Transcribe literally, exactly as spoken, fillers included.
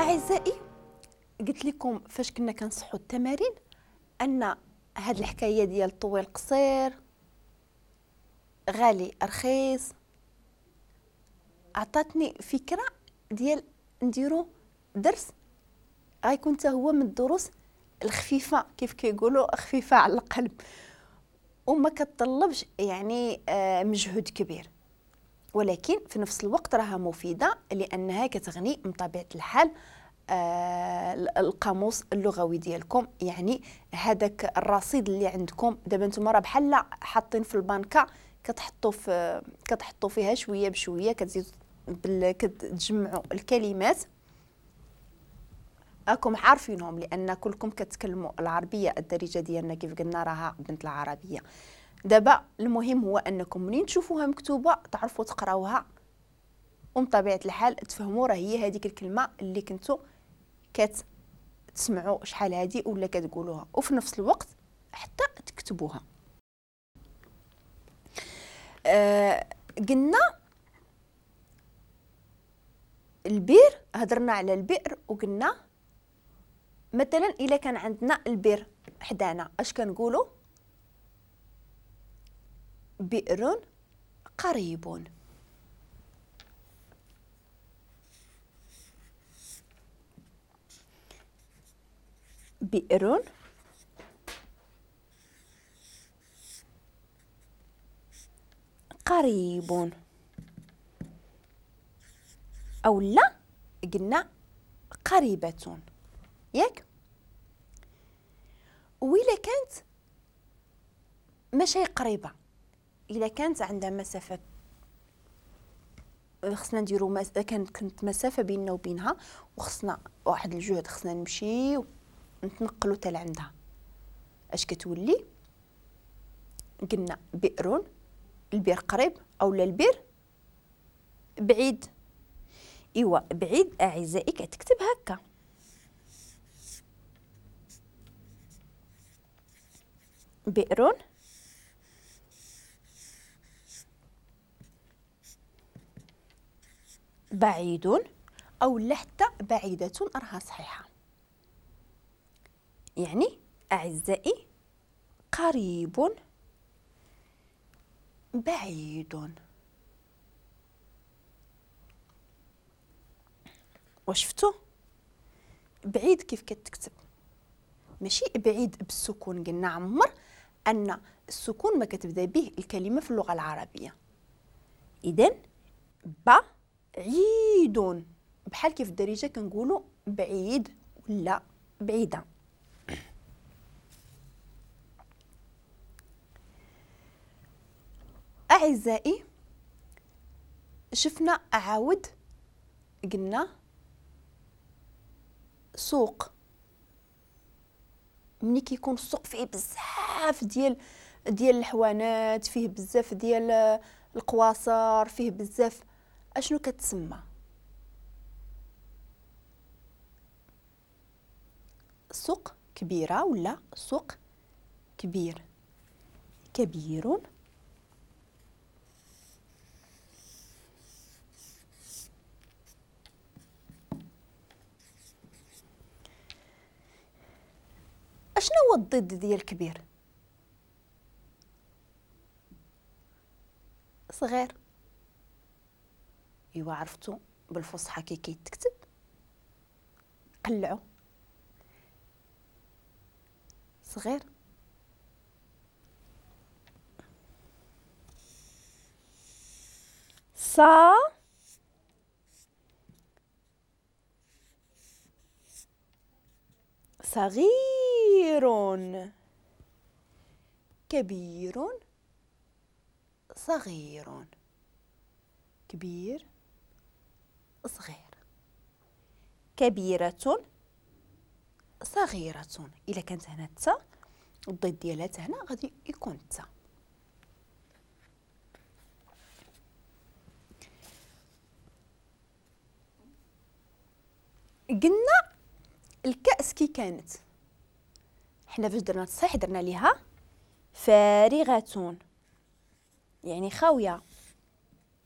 أعزائي قلت لكم فاش كنا كنصحوا التمارين أن هاد الحكاية ديال طويل قصير غالي رخيص عطاتني فكرة ديال نديرو درس غيكون حتى هو من الدروس الخفيفة، كيف كيقولوا خفيفة على القلب وما كتطلبش يعني آه مجهود كبير، ولكن في نفس الوقت راها مفيدة لأنها كتغني من طبيعة الحال آه القاموس اللغوي ديالكم، يعني هذاك الرصيد اللي عندكم دابا نتوما راه بحال حاطين في البنكه كتحطوا في كتحطوا فيها شوية بشوية، كتزيدوا بال... كتجمعوا الكلمات راكم عارفينهم لان كلكم كتكلموا العربية، الدارجة ديالنا كيف قلنا راها بنت العربية. دابا المهم هو انكم منين تشوفوها مكتوبة تعرفوا تقراوها ومن طبيعة الحال تفهموا راه هي هذيك الكلمة اللي كنتو كتسمعوا شحال هادي ولا كتقولوها، وفي نفس الوقت حتى تكتبوها. آه قلنا البئر، هضرنا على البئر وقلنا مثلا الا كان عندنا البئر حدانا اش كنقولوا؟ بئر قريب. بئر قريب، أو لا قلنا قريبة، ياك؟ وإلا كانت ماشي قريبة، إلا كانت عندها مسافة خصنا نديرو مس... كانت كانت مسافة بيننا وبينها وخصنا واحد الجهد، خصنا نمشيو نتنقلو حتى لعندها، اش كتولي؟ قلنا بئر، البئر قريب او لا البئر بعيد. ايوا بعيد اعزائي كتكتب هكا، بئر بعيد او لا حتى بعيدة راها صحيحة. يعني أعزائي قريب بعيد. وشفتو بعيد كيف كتكتب؟ ماشي بعيد بالسكون، قلنا عمر أن السكون ما كتبدا به الكلمة في اللغة العربية. إذن بعيد بحال كيف الدارجة كنقولوا بعيد ولا بعيدة. أعزائي شفنا عاود قلنا سوق، ملي كيكون السوق فيه بزاف ديال ديال الحوانات، فيه بزاف ديال القواصر، فيه بزاف، اشنو كتسمى؟ سوق كبيرة ولا سوق كبير؟ كبير. اشنو هو الضد ديال كبير؟ صغير. ايوا عرفتو بالفصحى كي كيتكتب؟ قلعو صغير. صا صغير، كبير، صغير، كبير، صغير، كبيرة، صغيرة. إلا كانت هنا تا الضد ديالها هنا غادي يكون تا. قلنا الكأس كي كانت، حنا فاش درنا التصحيح درنا ليها فارغة يعني خاوية.